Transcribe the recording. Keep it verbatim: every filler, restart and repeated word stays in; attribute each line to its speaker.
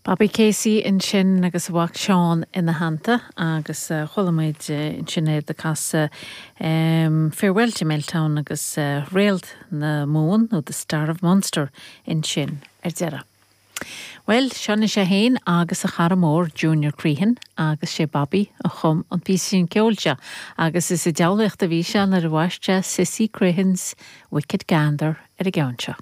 Speaker 1: Bobby Casey ansin agus a mhac Seán ina theannta agus uh, chuala muid uh, ansin é ag casadh um, Farewell to Milltown agus uh, Réalt na Mumhan nó The Star of Munster ansin ar deireadh. Well, seo sé féin agus a chara mór Junior Crehan agus sé Bobby a chum an píosa ceoil seo agus is i diabhlaíocht a bhí sé nuair a bhaist sé Sissy Crehan's Wicked Gander ar an gceann seo.